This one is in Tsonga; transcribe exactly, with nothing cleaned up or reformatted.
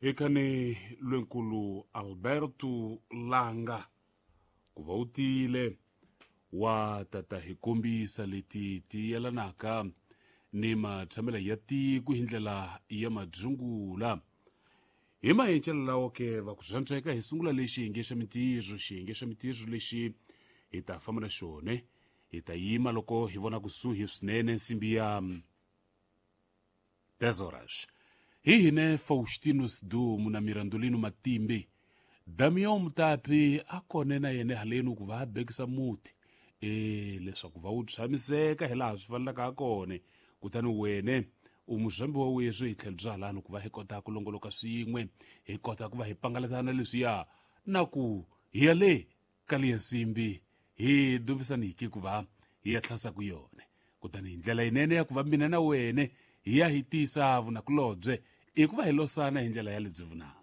Hikani lwenkulu Alberto Langa ku va u tile wa tata hi kombisa leti ti yelanaka ni matshamelo ya tiko hi ndlela ya madzungula. Hi mahencelo lawo ke va ku zwantsweka hi sungula lexi xiyenge xa mintirho, xiyenge xa mintirho lexi hi ta famba na xona, hi ta yima loko hi vona kusuhi swinene nsimbi ya dez horas. Hi hine Faustino Sidumu na Mirandolino Matimbe. Damião Mutapi a kone na yena haleni ku va a bekisa muti e leswaku va wu tshamiseka hi laha swi fanelaka ha kona. Kutani wene u muzambi wa weswi hi tlhelo bya halani ku va hi kota ku longoloka swin'we, hi kota ku va hi pangalatana leswiya na ku hi ya le ka liya nsimbi hi dumisaniki ku va hi ya tlhasa ku yona. Kutani hi ndlela yinene ya ku va mina na wene hi ya hi tisa vunakulobye i ku va hi losana hi ndlela ya lebyi vunanga.